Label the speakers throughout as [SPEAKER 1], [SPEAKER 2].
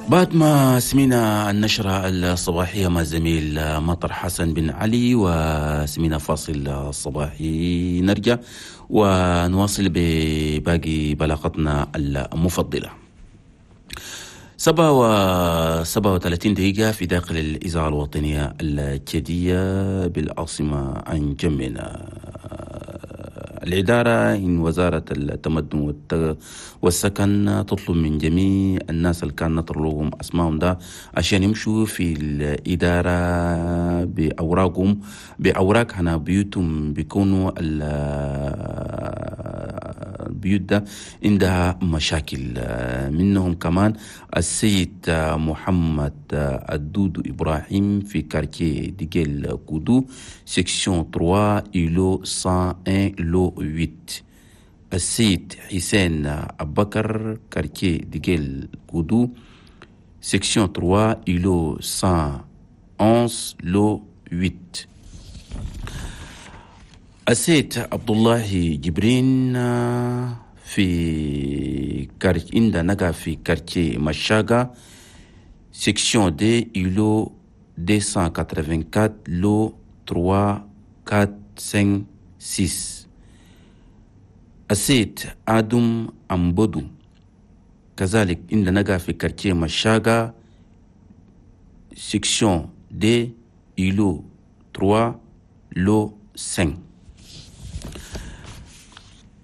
[SPEAKER 1] بعد ما سمينا النشرة الصباحية مع الزميل مطر حسن بن علي وسمينا فاصل صباحي، نرجع ونواصل بباقي بلاغتنا المفضلة. 7:37 في داخل الإذاعة الوطنية التشادية بالعاصمة أنجمينا. الإدارة إن وزارة التمدن والسكن تطلب من جميع الناس اللي كان نطر لهم أسمائهم ده عشان يمشوا في الإدارة بأوراقهم، بأوراق هنا بيوتهم بيكونوا البيوت ده عندها مشاكل. منهم كمان السيد محمد الدودو إبراهيم في quartier ديجيل كودو section 3 îlot 101 lot 8. السيد حسين أبكر quartier ديجيل كودو section 3 îlot 111 lot 8. السيد عبد الله جبرين في quartier عند نقا في quartier مشاغا section deux îlot 284 lot 3 4 5 6. السيد آدم أمبودو كذلك عند نقا في quartier مشاغا section deux îlot 3 lot 5.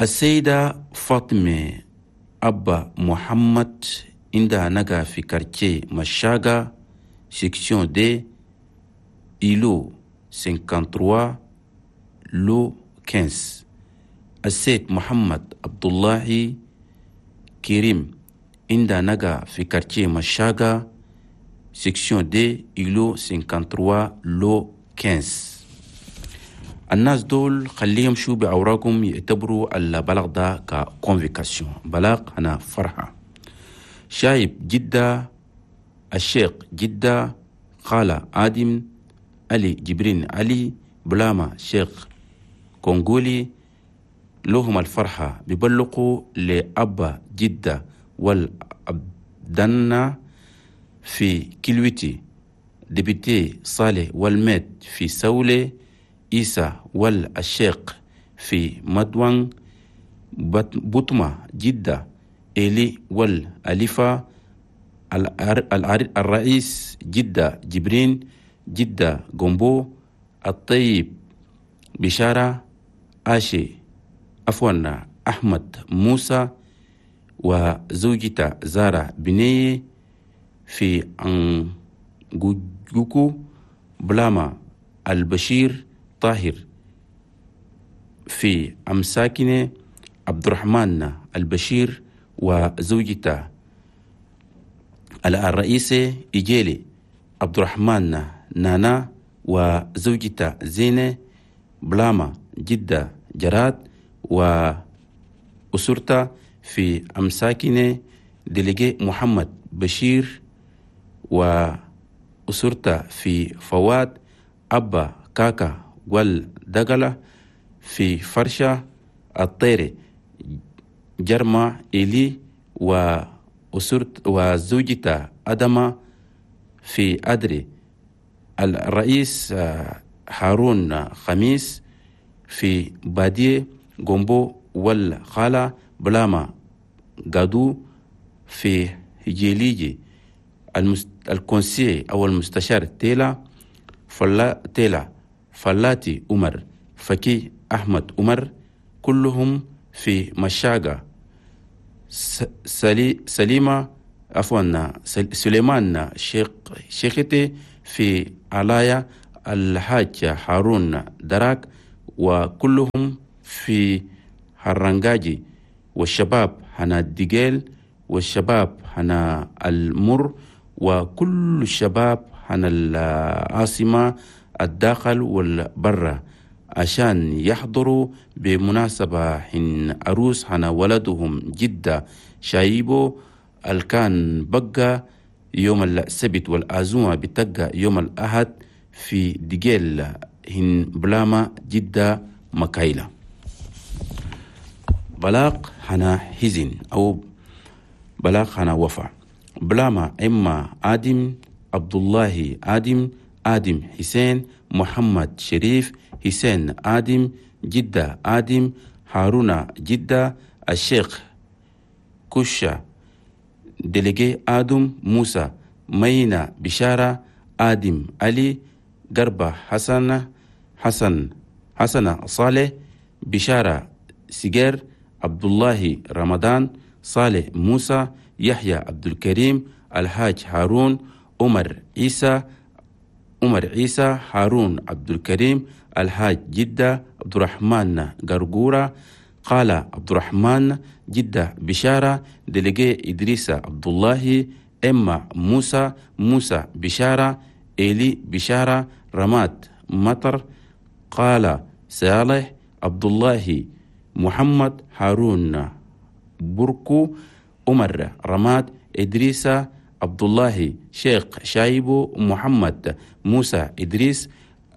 [SPEAKER 1] السيدة فاطمة أبا محمد عندها نقا في quartier مشاغا section deux îlot 53 lot 15. السيد محمد عبد الله كريم عندها نقا في quartier مشاغا section deux îlot 53 lot 15. الناس دول خليهم شو بأوراقهم يعتبروا البلاغ ده ك convocation، بلاغ هنا فرحة. شايب جدة، الشيخ جدة، خالة آدم علي جبرين علي بلاما شيخ كونغولي لهم الفرحة بيبلغوا لأبا جدة والأبدنا في كيلويتي، député صالح والميت في سولي، إيسا والشيخ في مدوان، بطمة جدة، إيلي والأليفة، الرئيس جدة جبرين جدة جومبو، الطيب بشارة آشي عفوا أحمد موسى وزوجته زارة بنية في أنجوكو، بلاما البشير طاهر في أمساكنة، عبد الرحمن البشير وزوجته الرئيسة إيجيلي، عبد الرحمن نانا وزوجته زينة، بلاما جدة جراد وأسرته في أمساكنة، délégué محمد بشير وأسرته في فواد، أبا كاكا والدقلة في فرشة، الطيري جرما إلي وأسرت وزوجته أدمة في أدري، الرئيس هارون خميس في بادية جومبو والخالة بلاما قادو في هجيليجي، ال conseiller أو المستشار تيلا فلا تيلا فلاتي عمر فكي أحمد عمر كلهم في مشاغا، سليمة عفوا سليمان شيختي في علايا، الحاج هارون دراك وكلهم في هرنجاجي، والشباب هنا الدجيل والشباب هنا المر وكل الشباب هنا العاصمة الداخل والبرة عشان يحضروا بمناسبة حين عروس هنا ولدهم جدة شايبو الكان بقى يوم السبت والعزومة بتقى يوم الأحد في دجيل هن بلاما جدة مكايلة. بلاغ هنا حزن أو بلاغ هنا وفا. بلاما إما آدم عبد الله آدم، آدم حسين، محمد شريف، حسين آدم، جدة آدم، هارون جدة، الشيخ كشة، délégué آدم موسى، مينا بشارة، آدم علي، قربة حسن، حسن حسن صالح، بشارة سجير، عبد الله رمضان، صالح موسى، يحيى عبد الكريم، الحاج هارون، عمر عيسى، عمر عيسى، هارون عبد الكريم، الحاج جدة، عبد الرحمن قرقورة، قال عبد الرحمن جدة بشارة، délégué إدريس عبد الله، إما موسى، موسى بشارة، إيلي بشارة، رماد مطر، قال صالح عبد الله، محمد هارون بركو، عمر رماد، إدريس عبد الله، شيخ شايبو، محمد موسى إدريس،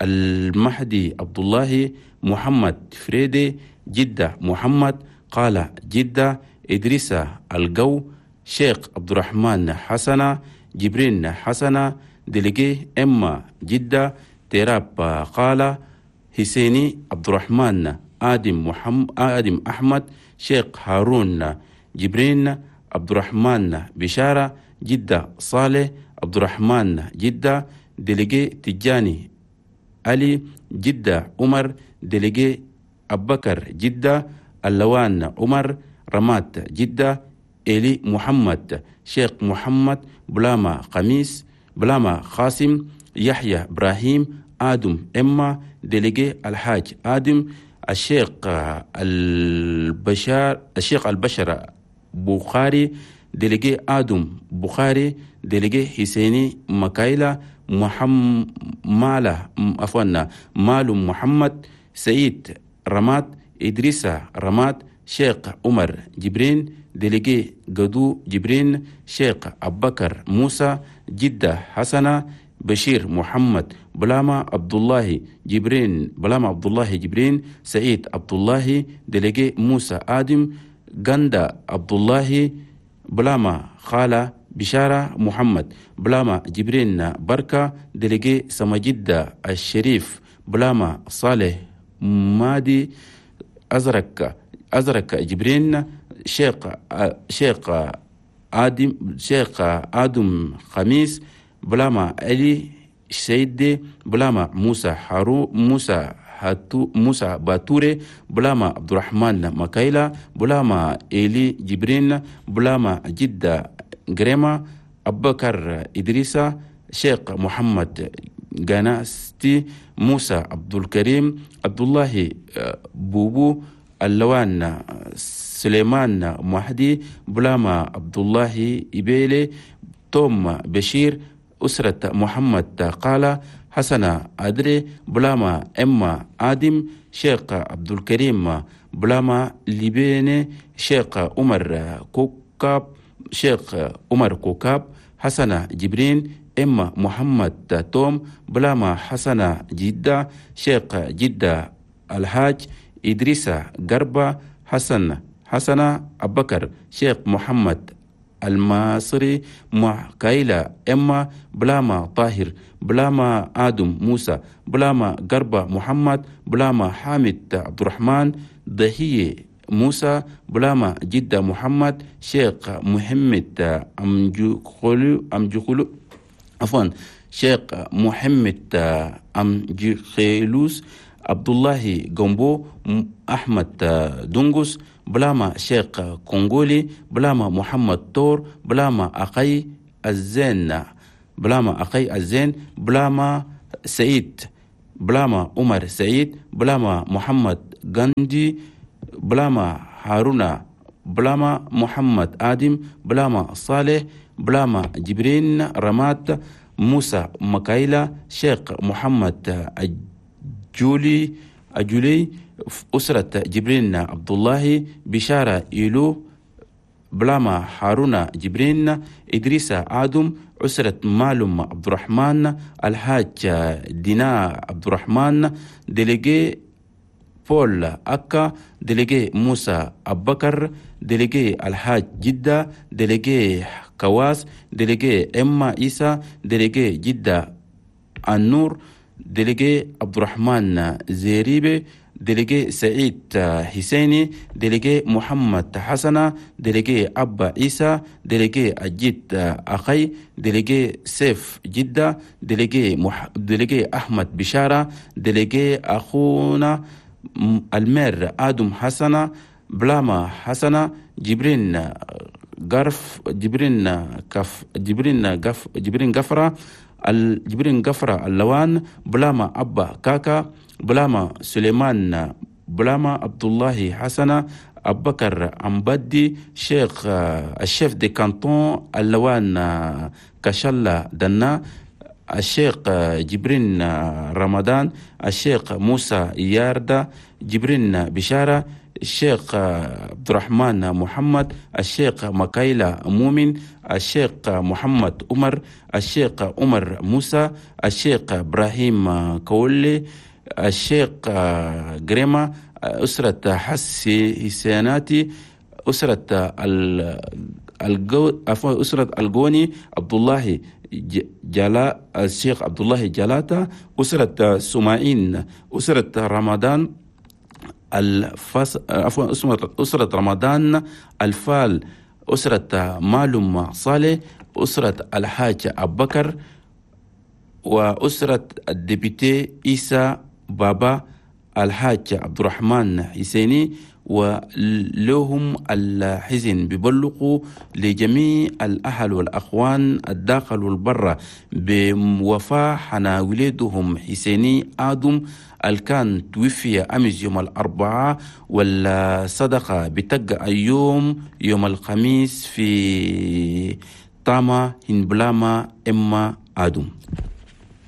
[SPEAKER 1] المهدي عبد الله، محمد فريدي، جدة محمد، قال جدة، إدريس الجو، شيخ عبد الرحمن حسنة، جبرين حسنة، délégué إما جدة، تيراب قال حسيني عبد الرحمن، آدم محمد، آدم أحمد، شيخ هارون جبرين، عبد الرحمن بشارة، جدة صالح، عبد الرحمن جدة، délégué تجاني علي، جدة عمر، délégué أبكر جدة، اللوان عمر، رمات جدة، إلي محمد، شيخ محمد، بلاما قميص، بلاما قاسم، يحيى إبراهيم، آدم إما، délégué الحاج آدم، الشيخ البشار، الشيخ البشر بخاري، délégué آدم بخاري، délégué حسيني مكايلا، محمد مالا، عفوا، مال محمد، سعيد رماد، إدريس رماد، شيخ عمر جبرين، délégué قدو جبرين، شيخ أبكر موسى، جدة حسنة، بشير محمد، بلاما عبد الله جبرين، بلاما عبد الله جبرين، سعيد عبد الله، délégué موسى آدم، غندا عبد الله، بلاما خالة بشارة محمد، بلاما جبرين بركة، délégué سمجدة الشريف، بلاما صالح مادي، أزرق أزرق جبرين، شيخ آدم، شيخ آدم خميس، بلاما علي سيدي، بلاما موسى حارو، موسى هاتو، موسى باتوري، بلاما عبد الرحمن مكايلا، بلاما إيلي جبرين، بلاما جدة جريما، أبكر إدريسا، شيخ محمد جاناستي، موسى عبد الكريم، عبد الله بوبو، اللوان سليمان مهدي، بلاما عبد الله إبيلي، توم بشير، أسرة محمد قال، حسن أدري، بلاما إما آدم، شيخ عبد الكريم، بلاما ليبيني، شيخ عمر كوكاب، شيخ عمر كوكاب، حسن جبرين، إما محمد توم، بلاما حسن جدة، شيخ جدة الحاج، إدريس قربة، حسن حسن أبكر، شيخ محمد المصري، مع كايلا إما، بلاما طاهر، بلاما آدم موسى، بلاما قربة محمد، بلاما حامد عبد الرحمن، ضحية موسى، بلاما جدة محمد، شيخ محمد أمجخلو، أمجخلو، عفوا، شيخ محمد أمجخيلوس، عبد الله جومبو، أحمد دونغوس، بلاما شيخ كونغولي، بلاما محمد تور، بلاما أخي الزين، بلاما أخي الزين، بلاما سعيد، بلاما عمر سعيد، بلاما محمد غاندي، بلاما هارونا، بلاما محمد آدم، بلاما صالح، بلاما جبرين رمات، موسى مكايلا، شيخ محمد أجولي، أجولي، أسرة جبرين عبد الله، بشارة إيلو، بلاما هارونا جبرين، إدريس آدم، أسرة معلوم عبد الرحمن، الحاج دينا عبد الرحمن، délégué بول أكا، délégué موسى أبكر، délégué الحاج جدة، délégué كواس، délégué إما إيسا، délégué جدة النور، délégué عبد الرحمن زيريبي، délégué سعيد حسيني، délégué محمد حسنة، délégué أبا عيسى، délégué أجيد أخي، délégué سيف جدة، délégué أحمد بشارة، délégué أخونا المير آدم حسنة، بلاما حسنة، جبرين غرف، جبرين كف، جبرين قف، جبرين قفرة، جبرين قفرة اللوان، بلاما أبا كاكا، بلاما سليمان، بلاما عبد الله حسنة، أبكر أمبدي، شيخ ال chef de canton اللوان كشلا دنا، الشيخ جبرين رمضان، الشيخ موسى ياردا، جبرين بشارة، الشيخ عبد الرحمن محمد، الشيخ مكايلا مؤمن، الشيخ محمد عمر، الشيخ عمر موسى، الشيخ إبراهيم كولي، الشيخ جريما، أسرة حسي حسيناتي، أسرة أسرة الجوني عبد الله جلا، الشيخ عبد الله جلاتا، أسرة سماعين، أسرة رمضان الفص، عفوا أسرة رمضان الفال، أسرة معلوم صالح، أسرة الحاج أبو بكر، وأسرة ال député إيسى بابا الحاج عبد الرحمن حسيني. ولهم الحزن بيبلغوا لجميع الأهل والأخوان الداخل والبرة بوفاة حنا ولدهم حسيني آدم الكان توفي أمس يوم الأربعاء، والصدقة بتقع اليوم يوم الخميس في طاما هنبلاما إما آدم.